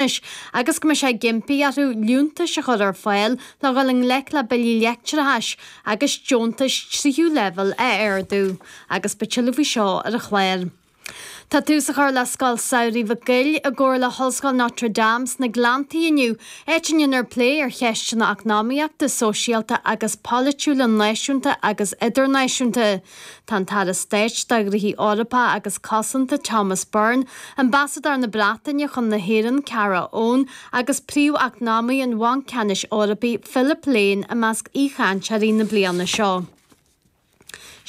Agus go mbeidh sé ag impí orthu liúntais a chur ar fáil le dhul i ngleic le billí leictreachais agus deontais tríú leibhéal a ardú. Agus beidh tuilleadh faoi seo ar an chlár. Tá tús á chur le Scoil Samhraidh Mhic Goill i gcomhar le hOllscoil Notre Dame sna Gleanntaí inniu, áit a ndéanfar plé ar cheisteanna eacnamaíochta, sóisialta agus polaitiúla náisiúnta agus idirnáisiúnta. Tá an tAire Stáit do Ghnóthaí Eorpacha agus Cosanta Thomas Byrne, Ambasadóir na Breataine chun na hÉireann Cara Owen agus Príomh-Eacnamaí an Bhainc Ceannais Eorpaigh Philip Lane i measc aoichainteoirí na bliana seo.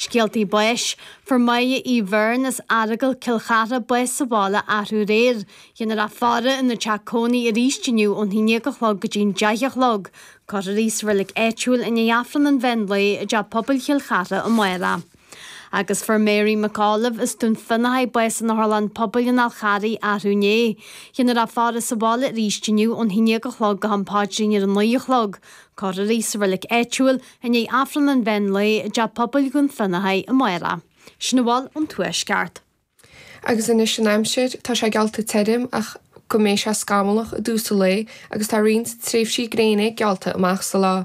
Scéaltaí báis, Fuair Máire Uí Bheirn as Earagail Cill Chartha bás sa bhaile arú aréir. Déanfar í a fhaire ina teach cónaí arís inniu ón 11 a chlog go dtí'n 10 a chlog. Cuirfear í sa reilig áitiúil i ndiaidh Aifreann an mheán lae i dTeach Pobail Chill Chartha amárach. Agus fuair Mary McAuliffe as Dún Fionnachaidh bás in Otharlann Pobail an Fháil Charraigh arú inné. Déanfar í a fhaire sa bhaile arís inniu ón 11 a chlog go ham paidrín ar a 9 a chlog. Cuirfear í sa reilig áitiúil i ndiaidh Aifreann an mheán lae i dTeach Pobail Dhún Fionnachaidh amárach. Sin a bhfuil ón Tuaisceart. Agus anois an aimsir, tá sé geallta tirim ach go mbeidh sé scamallach i dtús an lae agus tá roinnt tréimhsí gréine geallta amach sa lá.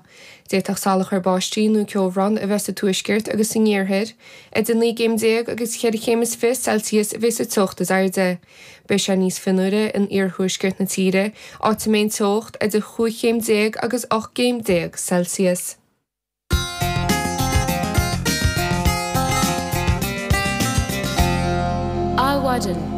D'fhéadfadh salachar báistí nó ceobhrán a bheith sa tuaisceart agus san iarthar. Idir 19 gcéim agus cheithre chéim is 20 Celsius a bheas an teocht is airde. Beidh sé níos fionnuaire in iarthuaisceart na tíre, áit a mbeidh an teocht idir chúig chéim déag agus 18 gcéim Celsius. Adhmhaidin.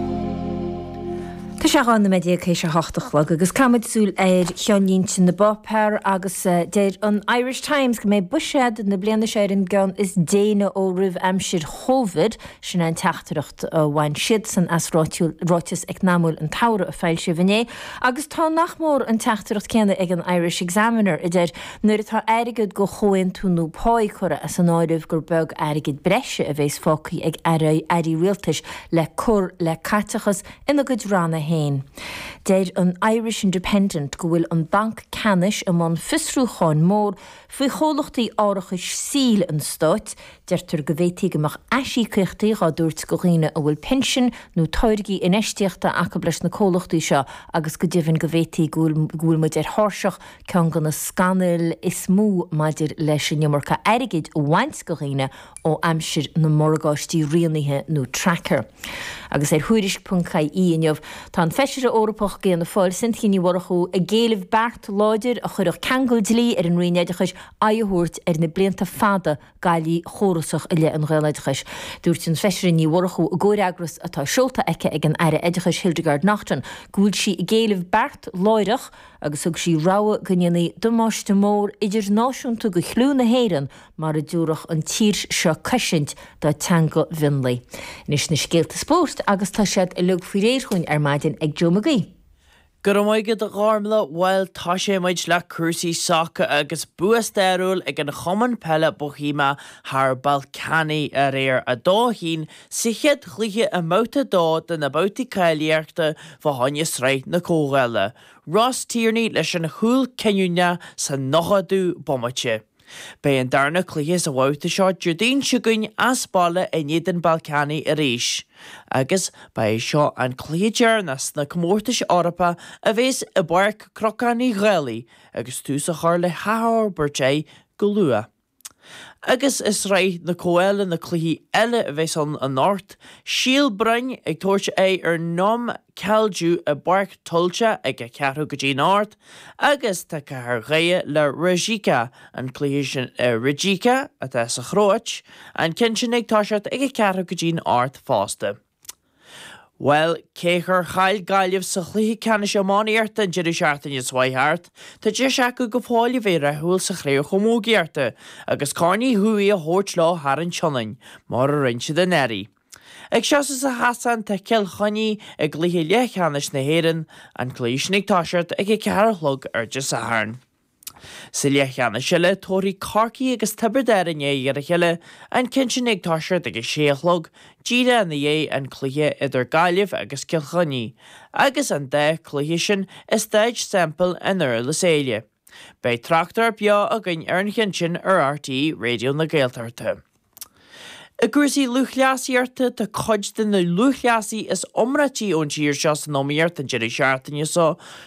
Tá sé 12 nóiméad théis a hocht a chlog agus caithfidh muid súil ar cheannlínte na bpáipéar agus deir an Irish Times go mbeidh buiséad na bliana seo ar an gceann is déine ó roimh aimsir Chovid. Sin é an teachtaireacht a bhain siadsan as ráiteas eacnamúil an tsamhraidh a foilsíodh inné. Agus tá nach mór an teachtaireacht céanna ag an Irish Examiner a deir Nuair atá airgead go chomhaontú nua páí curtha as an áireamh gur beag airgead breise a bhéas fágtha ag airí rialtais le cur le caiteachas ina gcuid ranna féin. Deir an Irish Independent go bhfuil an Banc Ceannais i mbun fiosrúcháin mór faoi chomhlachtaí árachais saoil an stáit Deirtear go bhféadfaí go mbeadh aisíocaíochtaí dhá dtabhairt go dhaoine a bhfuil pinsin nó táirgí infheistíochta acu leis na comhlachtaí seo agus go deimhin go bhféadfaí go bhfuil muid ar thairseach ceann de na scannail is mó maidir leis an iomarca airgid a bhaint go dhaoine ó aimsir na morgáistí rianaithe nó tracker. Agus ar Thuairisc ponc ie inniu tá an Feisire Eorpach d'Fhianna Fáil Cynthia Ní Mhurchú ag éileamh beart láidir a chuirfeadh ceangal dlí ar an Roinn Oideachais aghaidh a thabhairt ar na blianta fada gcaillí chórasach i leith an Ghaeloideachais. Dúirt an Feisire Ní Mhurchú i gcomhfhreagras atá seolta aici ag an Aire Oideachais Hildegarde Naughton go bhfuil sí ag éileamh beart láithreach agus thug sí rabhadh go ndéanfaí damáiste mór idirnáisiúnta go chliú na hÉireann mara dtabharfadh an tír seo cosaint dá teanga mhionlaigh. Anois na scéalta spóirt agus tá siad uilig faoi réir chugainn ar maidin ag Joe Mag Aoidh. Go raibh maith agat a Ghormlaith, bhuel toiseoidh muid le cúrsaí sacair agus bua stairiúil ag an Chumann Peile Bohemia thar Ballkani aréir, 2-1 sa chéad chluiche i mbabhta 2 de na babhtaí cáilíochta fá choinne Sraith na Comhdhála. Ross Tierney leis an chúl cinniúnach sa 90ú bomaite. Beidh an darna cluiche sa bhabhta seo Déardaoin seo chugainn as baile in éadan Ballkani arís. Agus ba é seo an cluiche deireanach sna comórtais Eorpacha a bhéas i bPáirc Chnocán Uí Dhálaigh agus tús á chur le hathfhorbairt air go luath. Agus i Sraith na Comhdhála na cluichí eile a bhéas ann anocht, Síol Broin ag tabhairt aghaidh ar Neum Kalju i bPáirc Tholscha ag a ceathrú go dtí'n ocht agus tá Cathair Dhoire le Rijeka, an cluiche sin i Rijeka atá sa Chróit, an ceann sin ag toiseacht ag a ceathrú go dtí'n ocht fosta. Bhuel, cé gur chaill Gaillimh sa chluiche ceannais iománaíochta an deireadh seachtaine seo chuaigh thart, tá deis acu go fóill a bheith rathúil sa chraobh chamógaíochta agus Corn Uí Dhufaigh a thabhairt leo thar an tSionainn, mar a rinne siad anuraidh. Ag seasamh sa chasán tá Cill Chainnigh i gcluiche leathcheannais na hÉireann, an cluiche sin ag toiseacht ag a ceathair a chlog ar Dé Sathairn. Sa leathcheannais eile, tabharfaidh Corcaigh agus Tiobraid Árann aghaidh ar a chéile, an ceann sin ag toiseacht ag a sé a chlog, díreach ina dhiaidh an cluiche idir Gaillimh agus Cill Chainnigh, agus an dá chluiche sin i Staid Semple i nDurlas Éile. Beidh tráchtaireacht beo againn ar an cheann sin ar RTÉ Raidió na Gaeltachta. I gcúrsaí lúthchleasaíochta, tá cuid de na lúthchleasaithe is iomráití ón tír seo san iomaíocht an deireadh seachtaine seo.